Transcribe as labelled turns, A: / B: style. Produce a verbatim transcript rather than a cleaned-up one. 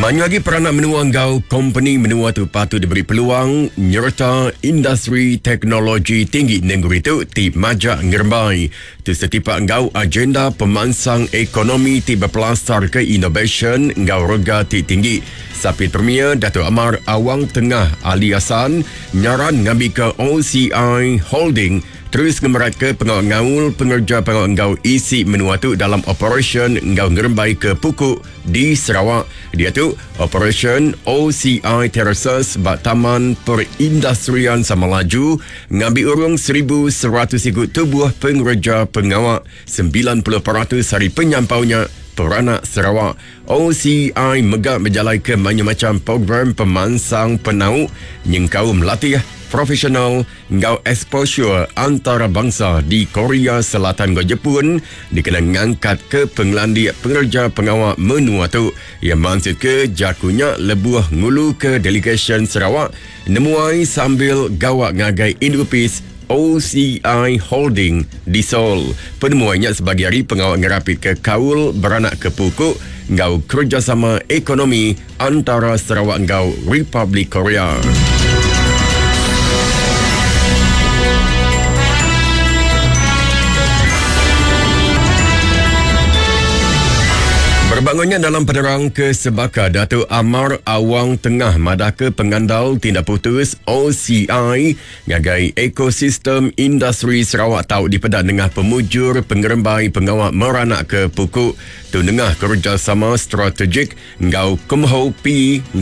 A: Banyak lagi peranak menua enggau kompeni menua tu patut diberi peluang nyerta industri teknologi tinggi negeri tu ti majak ngerembai. Tu setipak enggau agenda pemansang ekonomi ti berpelasar ke inovasyen enggau rega ti tinggi. Sapit Premier Dato' Amar Awang Tengah Ali Hasan nyaran ngambil ke O C I Holding terus ngemerat ke pengawal ngaul pengerja pengawal enggau isi menua tu dalam operasyen enggau ngerembai ke pukuk di Sarawak. Dia tu operasyen O C I Terraces bak Taman Perindustrian Samalaju ngambil urung seribu seratus ikut tubuh pengerja pengawal sembilan puluh peratus hari penyampaunya peranak Sarawak. O C I megak berjalai ke macam-macam program pemansang penau nyengkau melatih profesional ngau exposure antarabangsa di Korea Selatan dan Jepun dikena ngangkat ke pengelandik pengerja pengawal menua tu. Ia maksud ke jakunya lebuh ngulu ke delegation Sarawak nemuai sambil gawak ngagai Indupis O C I Holding di Seoul. Penemuannya sebagai hari pengawal ngerapit ke kaul beranak ke pukuk ngau kerjasama ekonomi antara Sarawak ngau Republik Korea. Berbangunnya dalam penerang ke Sebaka, Dato' Amar Awang Tengah madah ke pengandal tindak putus O C I ngagai ekosistem industri Sarawak tau dipedak nengah pemujur pengerembai pengawal meranak ke pukuk tu nengah kerjasama strategik ngau Kumho P